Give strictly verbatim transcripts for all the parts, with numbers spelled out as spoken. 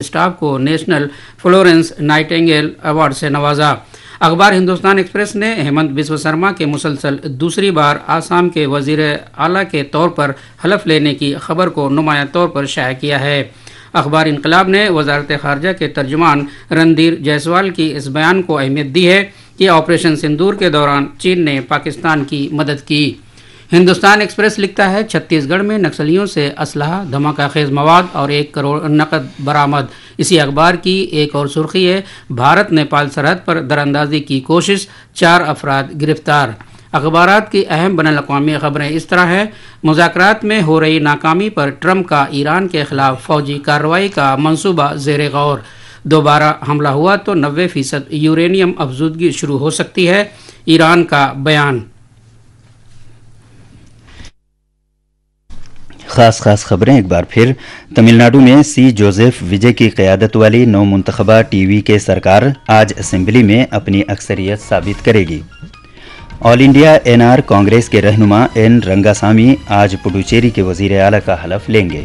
Staff کو national Florence Nightingale award سے نوازا۔ اخبار ہندوستان ایکسپریس نے ہیمنت بسو سرما کے مسلسل دوسری بار آسام کے وزیر اعلیٰ کے طور پر حلف لینے کی خبر کو نمایاں طور پر شائع کیا ہے۔ اخبار انقلاب نے وزارت خارجہ کے ترجمان رندیر جیسوال کی اس بیان کو اہمیت دی ہے کہ آپریشن سندور کے دوران چین نے پاکستان کی مدد کی۔ ہندوستان ایکسپریس لکھتا ہے، چھتیس گڑھ میں نکسلیوں سے اسلحہ، دھماکہ خیز مواد اور ایک کروڑ نقد برآمد۔ اسی اخبار کی ایک اور سرخی ہے، بھارت نیپال سرحد پر دراندازی کی کوشش، چار افراد گرفتار۔ اخبارات کی اہم بین الاقوامی خبریں اس طرح ہیں، مذاکرات میں ہو رہی ناکامی پر ٹرمپ کا ایران کے خلاف فوجی کارروائی کا منصوبہ زیر غور، دوبارہ حملہ ہوا تو نوے فیصد یورینیم افزودگی شروع ہو سکتی ہے، ایران کا بیان۔ خاص خاص خبریں ایک بار پھر۔ تمل ناڈو میں سی جوزف وجے کی قیادت والی نو منتخبہ ٹی وی کے سرکار آج اسمبلی میں اپنی اکثریت ثابت کرے گی۔ آل انڈیا این آر کانگریس کے رہنما این رنگاسامی آج پڈوچیری کے وزیر اعلیٰ کا حلف لیں گے۔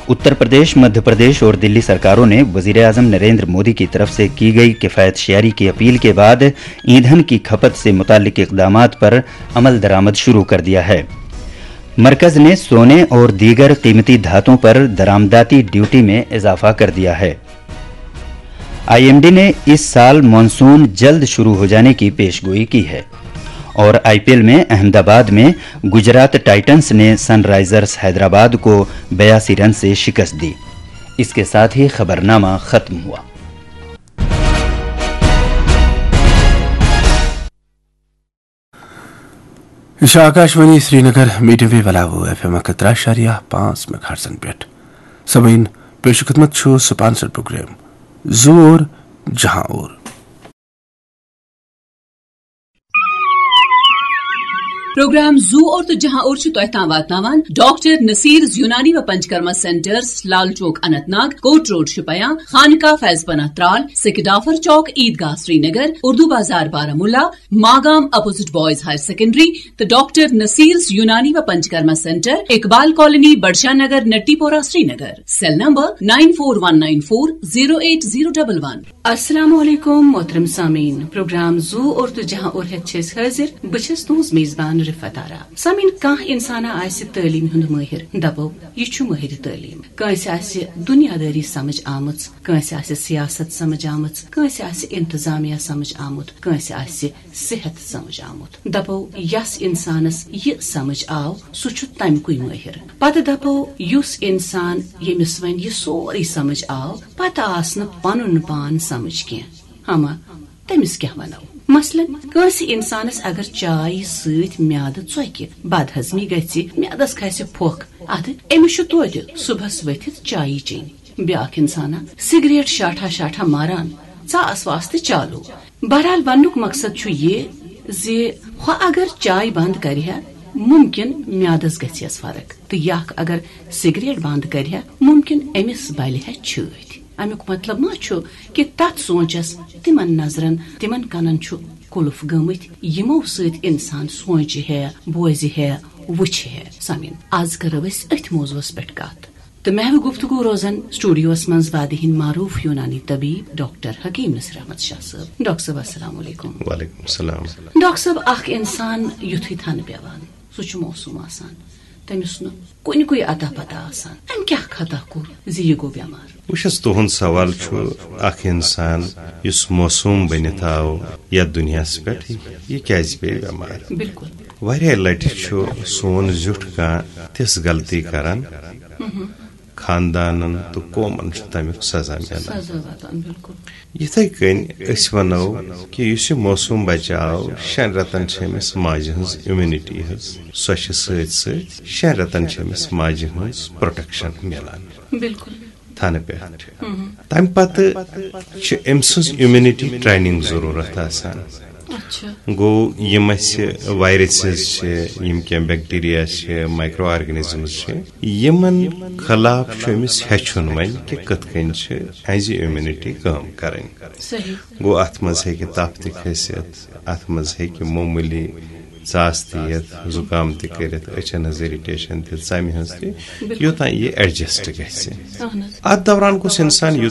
اتر پردیش، مدھیہ پردیش اور دلی سرکاروں نے وزیر اعظم نریندر مودی کی طرف سے کی گئی کفایت شعاری کی اپیل کے بعد ایندھن کی کھپت سے متعلق اقدامات پر عمل درآمد شروع کر دیا ہے۔ مرکز نے سونے اور دیگر قیمتی دھاتوں پر درآمداتی ڈیوٹی میں اضافہ کر دیا ہے۔ آئی ایم ڈی نے اس سال مانسون جلد شروع ہو جانے کی پیش گوئی کی ہے۔ اور آئی پی ایل میں احمد آباد میں گجرات ٹائٹنز نے سن رائزرز حیدرآباد کو بیاسی رن سے شکست دی۔ اس کے ساتھ ہی خبرنامہ ختم ہوا۔ یہِ چھِ آکاشوانی سرینگر، میٖڈیم ویو الاوو ایف ایم اکھ ہتھ ترٛےٚ اَشاریہ پانٛژھ میگاہرٹزن پٮ۪ٹھ۔ سامعیٖن، پیش خدمت چھُ سپانسر پروگرام زوٗ اور جہاں اور۔ پروگرام زوٗ اور تہٕ جہاں اور چھُ تۄہہِ تام واتناوان ڈاکٹر نصیرز یونانی و Panchakarma centres, Lal Chowk Anantnag, court road Shopian, Khanqah Faiz Panah Tral, Sekidafar Chowk, Eidgah Srinagar, Urdu Bazar Baramulla, Magam opposite boys higher secondary تہٕ ڈاکٹر نصیرز یونانی و Panchakarma centre, Iqbal colony, Budshah Nagar, Natipora, Srinagar. Cell number nine four one nine four zero eight zero double one. السلام علیکم محترم سامعین، پروگرام زوٗ اور تہٕ جہاں اور ہیتھ چھِ أسۍ حٲضِر۔ بہٕ چھَس تُہنٛز میزبان رفعت آرا۔ سامعین، کانٛہہ انسانا آسہِ تعلیٖم ہُنٛد مٲہِر، دپو یہِ چھُ مٲہِر تعلیٖم۔ کٲنٛسہِ آسہِ دُنیادٲری سمجھ آمٕژ، کٲنٛسہِ آسہِ سیاست سمجھ آمٕژ، کٲنٛسہِ آسہِ انتظامیہ سمجھ آمُت، کٲنٛسہِ آسہِ صحت سمجھ آمُت۔ دپو یس انسانس یہِ سمجھ آو، سُہ چھُ تمہِ کُے مٲہِر۔ پتہٕ دپو یُس انسان ییٚمِس وۄنۍ یہِ سورُے سمجھ آو، پتہٕ آس نہٕ پنُن پان سمجھ کینٛہہ، ہما تٔمِس کیٛاہ ونو؟ مثلاً، کٲنٛسہِ انسانس اگر چاے سۭتۍ میادٕ ژۄکہِ، بدہضمی گژھِ، میادس کھسہِ پھۄکھ، ادٕ أمِس چھُ توتہِ صبحس ؤتھِتھ چایی چیٚنۍ۔ بیاکھ انسانا سگریٹ شاٹھا شاٹھا ماران، ژاس واس تہٕ چالو۔ بہرحال، وننُک مقصد چھُ یہِ زِ ہۄ اگر چاے بند کرِ ہا، ممکن میادس گژھِ ہس فرق، تہٕ یہِ اکھ اگر سگریٹ بند کرِ ہا، ممکن أمِس بلہِ ہا چھٲتۍ۔ امیُک مطلب ما چھُ کہِ تتھ سونچس، تِمن نظرن، تِمن کنن چھُ قلف گٔمٕتۍ، یِمو سۭتۍ انسان سونچہِ ہے، بوزِ ہے، وٕچھِ ہے۔ سامعین، از کرو أسۍ أتھۍ موضوعس پٮ۪ٹھ کتھ۔ تہٕ محوِ گفتگو روزن سٹوڈیوس منٛز وادی ہٕنٛدۍ معروف یونانی طبیب ڈاکٹر حکیم نصیر احمد شاہ صٲب۔ ڈاکٹر صٲب، السلام علیکم۔ وعلیکم السلام۔ ڈاکٹر صٲب، اکھ انسان یُتھُے تھنہٕ پٮ۪وان، سُہ چھُ معصوم آسان، تٔمِس نہٕ کُنہِ کُے اتا پتہ آسان، أمۍ کیٛاہ خطا کوٚر زِ یہِ گوٚو بٮ۪مار؟ بہٕ چھُس، تُہُنٛد سوال چھُ، اکھ انسان یُس معصوم بٔنِتھ آو یتھ دُنیاہس پٮ۪ٹھ، یہِ کیٛازِ پیٚیہِ بٮ۪مار؟ بِلکُل۔ واریاہ لٹہِ چھُ سون زیُٹھ کانٛہہ تِژھ غلطی کران، خاندانن تہٕ قومن چھُ تمیُک سزا میلان۔ سزا واتان، بِلکُل۔ یِتھے کٔنۍ أسۍ ونو کہِ یُس یہِ معصوم بچہٕ آو، شٮ۪ن رٮ۪تن چھِ أمِس ماجہِ ہٕنٛز immunity حظ، سۄ چھِ سۭتۍ سۭتۍ شٮ۪ن رٮ۪تن چھِ أمِس ماجہِ ہٕنٛز protection میلان۔ بِلکُل۔ تھنہٕ پٮ۪ٹھ۔ تمہِ پتہٕ چھِ أمۍ سٕنٛز immunity training ضروٗرت آسان۔ اچھا۔ گوٚو، یِم اَسہِ viruses چھِ، یِم کینٛہہ bacteria چھِ، micro organisms چھِ، یِمن خلاف چھُ أمِس ہیٚچھُن وۄنۍ کہِ کِتھ کٔنۍ چھِ اَسہِ immunity کٲم کرٕنۍ۔ صحیح۔ گوٚو، اَتھ منٛز ہیٚکہِ تَپھ تہِ کھٔسِتھ، اَتھ منٛز ہیٚکہِ معموٗلی ژاس تہِ یِتھ، زُکام تہِ کٔرِتھ، أچھن ہٕنٛز irritation تہِ، ژَمہِ ہٕنٛز تہِ، بِلکُل۔ یوٚتام یہِ adjust گژھِ۔ اَہَن حظ۔ اَتھ دوران گوٚژھ اِنسان یوٗت